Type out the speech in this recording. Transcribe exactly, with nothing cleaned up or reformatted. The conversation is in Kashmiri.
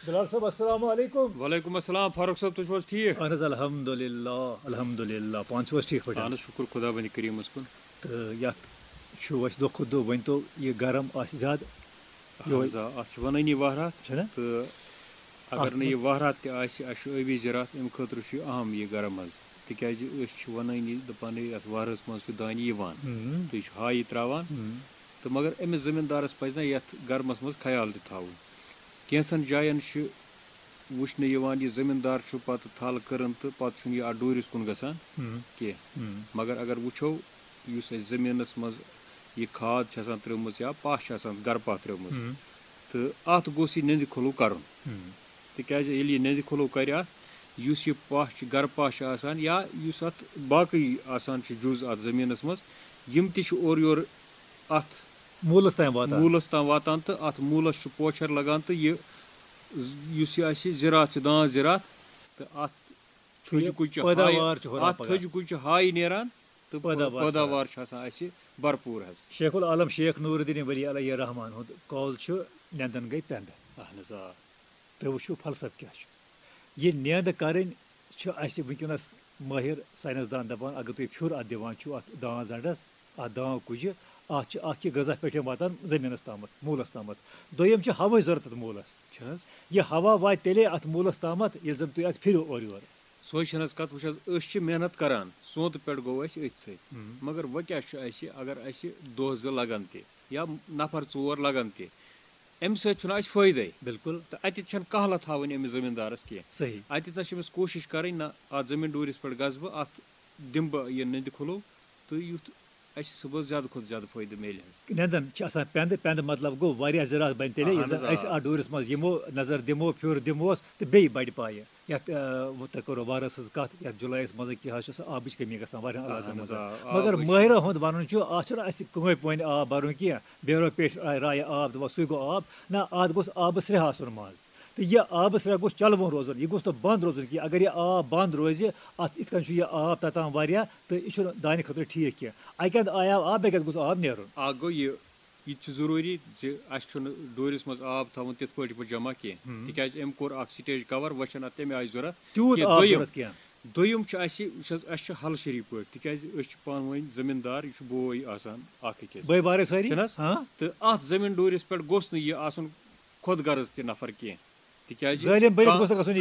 بلال صٲب، السلام علیکم۔ وعلیکم السلام فاروق صٲب، تُہۍ چھِو حظ ٹھیٖک؟ اہن حظ، الحمدللہ، الحمدللہ، پانہٕ چھِو حظ ٹھیٖک پٲٹھۍ؟ اہن حظ، شُکُر خۄدا بَنہِ کٔریٖمَس کُن۔ تہٕ یَتھ چھُ اَسہِ دۄہ کھۄتہٕ دۄہ، ؤنۍ تو، یہِ گرم آسہِ زیادٕ؟ اہن حظ، آ، اَتھ چھِ وَنٲنی وَہرات۔ چھُنہ؟ تہٕ اگر اَتھ نہٕ یہِ منٛز وَہرات تہِ آسہِ، اَسہِ چھُ ٲبی زِراعت، اَمہِ خٲطرٕ چھُ یہِ اَہَم یہِ گرم حظ، تِکیٛازِ أسۍ چھِ وَنٲنی دَپان، ہے، یَتھ وَہرَس منٛز چھُ دانہِ یِوان، ہُم۔ تہٕ یہِ چھُ ہایی ترٛاوان۔ ہُم۔ تہٕ مگر أمِس زٔمیٖندارَس پَزِ نہ یَتھ گرمَس منٛز خیال تہِ تھاوُن۔ کینٛژھن جایَن چھِ وٕچھنہٕ یِوان، یہِ زٔمیٖندار چھُ پَتہٕ تھل کٔرٕن تہٕ پَتہٕ چھُنہٕ یہِ اَتھ ڈوٗرِس کُن گژھان ہُم۔ کینٛہہ۔ ہُم۔ مگر اگر وٕچھو، یُس اَسہِ زٔمیٖنَس منٛز یہِ کھاد چھِ آسان ترٛٲومٕژ یا پَہہ چھِ آسان گَرٕ پَہہ ترٛٲومٕژ، ہُم۔ تہٕ اَتھ گوٚژھ یہِ نٮ۪نٛدِ کھُلہٕ کَرُن۔ ہُم۔ تِکیٛازِ ییٚلہِ یہِ نٮ۪نٛدِ کھُلہٕ کَرِ اَتھ، یُس یہِ پَہہ چھِ، گَرٕ پَہہ چھِ آسان یا یُس اَتھ باقٕے آسان چھِ جُز اَتھ زٔمیٖنَس منٛز، یِم تہِ چھِ اورٕ یورٕ اَتھ موٗلَس تام واتان۔ موٗلَس تام واتان تہٕ اَتھ موٗلَس چھُ پوچھر لَگان تہٕ یہِ ز-، یُس یہِ اَسہِ زِراعت چھُ، دانٛد زِراعت، تہٕ اَتھ چھُ یہِ تھٔج کُج چھِ پٲداوار ہاے، چھُ ہُران اَتھ پَگاہ۔ تھٔج کُج چھِ ہاے نیران تہٕ پٲداوار چھُ پٲداوار چھُ آسان اَسہِ بھرپوٗر حظ۔ شیخ العالم شیخ نور الدین ولی علیہ الرحمان ہُنٛد قول چھُ، "نٮ۪نٛدَن گٔے تٮ۪نٛدٕ۔" اہن حظ، آ۔ تُہۍ وٕچھِو فلسفہٕ کیٛاہ چھُ۔ یہِ نٮ۪نٛد کَرٕنۍ چھِ اَسہِ وٕنکیٚنَس مٲہِر ساینَس دان دَپان، اگر تُہۍ پھیُر اَتھ دِوان چھُو، اَتھ دانٛد زَنٛڈَس، اَتھ دانٛد کُجہِ، اَتھ چھِ اَکھ یہِ غذا پٮ۪ٹھ واتان زٔمیٖنَس تامَتھ، موٗلَس تامَتھ۔ دوٚیِم چھِ ہوٕچ ضوٚرَتھ اَتھ موٗلَس۔ چھِ حظ؟ یہِ ہوا واتہِ تیٚلے اَتھ موٗلَس تامَتھ، ییٚلہِ زَن تُہۍ اَتھ پھِرِو اورٕ یورٕ۔ سۄے چھَنہٕ حظ کَتھ، وٕچھ حظ، أسۍ چھِ محنت کَران، سونٛتہٕ پٮ۪ٹھ گوٚو اَسہِ أتھۍ سۭتۍ۔ ہُم۔ مگر وۄنۍ کیٛاہ چھُ اَسہِ، اگر اَسہِ دۄہ زٕ لَگَن تہِ یا نفر ژور لَگَن تہِ، اَمہِ سۭتۍ چھُنہٕ اَسہِ فٲیدَے۔ بِلکُل۔ تہٕ اَتٮ۪تھ چھَنہٕ کَہلَت تھاوٕنۍ أمِس زٔمیٖندارَس کینٛہہ۔ صحیح۔ اَتٮ۪تھ نَس چھِ أمِس کوٗشِش کَرٕنۍ، نہ، اَتھ زٔمیٖن ڈوٗرِس پٮ۪ٹھ گژھٕ بہٕ، اَتھ دِمہٕ بہٕ یہِ نٮ۪نٛدِ کھُلو، تہٕ یُتھ اَسہِ صُبحَس زیادٕ کھۄتہٕ زیادٕ فٲیدٕ میلہِ حظ۔ نٮ۪نٛدَن چھِ آسان پٮ۪نٛدٕ، پٮ۪نٛدٕ مطلب گوٚو واریاہ زِراعت بَنہِ تیٚلے، ییٚلہِ اہن حظ، زَن أسۍ آ۔ اَتھ ڈوٗرِس منٛز یِمو، نظر دِمو، پھیُر دِموس تہٕ بیٚیہِ بَڑِ پایہِ۔ یَتھ، آ، وۄنۍ تۄہہِ کوٚروٕ وَہرَس ہٕنٛز کَتھ، یَتھ جُلایَس منٛز کیٛاہ حظ چھُ آسان، آبٕچ کٔمی گژھان واریاہَن علاقَن اہن منٛز۔ حظ، آ، مگر آبٕچ۔ مٲہِرَن ہُنٛد وَنُن چھُ، اَتھ چھُنہٕ اَسہِ کٕہٕنۍ پٲنۍ آب بَرُن کینٛہہ، بیرو پیٹھ راے، راے آب دِوان، سُے گوٚو آب۔ نہ، اَتھ گوٚژھ آبہٕ سرٛیٚہہ آسُن منٛز۔ تہٕ یہِ آبہٕ سرٛیٚہہ گوٚژھ چَلوُن روزُن، یہِ گوٚژھ نہٕ بنٛد روزُن کینٛہہ۔ اگر یہِ آب بنٛد روزِ، اَتھ یِتھ کٔنۍ چھُ یہِ آب تَتان واریاہ، تہٕ یہِ چھُنہٕ دانہِ خٲطرٕ ٹھیٖک کینٛہہ۔ اَکہِ اَندٕ آیہِ آب، اَکہِ اَندٕ گوٚژھ آب نیرُن۔ اَکھ گوٚو یہِ، یہِ تہِ چھُ ضروٗری زِ اَسہِ چھُنہٕ ڈوٗرِس منٛز آب تھاوُن تِتھ پٲٹھۍ پٲٹھۍ جمع کینٛہہ، ہُم۔ تِکیٛازِ أمۍ کوٚر اَکھ سٹیج کور، وۄنۍ چھَنہٕ اَتھ تَمہِ آیہِ ضوٚرَتھ تیوٗت کینٛہہ۔ آب دوٚیِم، ضوٚرَتھ کینٛہہ۔ دوٚیِم چھُ اَسہِ، وٕچھ حظ، اَسہِ چھُ ہَل شٔریٖک پٲٹھۍ، تِکیٛازِ أسۍ چھِ پانہٕ ؤنۍ زٔمیٖندار، یہِ چھُ بوے آسان اَکھ أکِس۔ بٲے بارٕے سٲری؟ چھِنہٕ حظ؟ ہاں۔ تہٕ اَتھ زٔمیٖن ڈوٗرِس پٮ۪ٹھ گوٚژھ نہٕ یہِ آسُن خۄد غرض تہِ نفر کینٛہہ، تِکیٛازِ ظٲلِم بٔرِتھ کانٛہہ گوٚژھ نہٕ گژھُن۔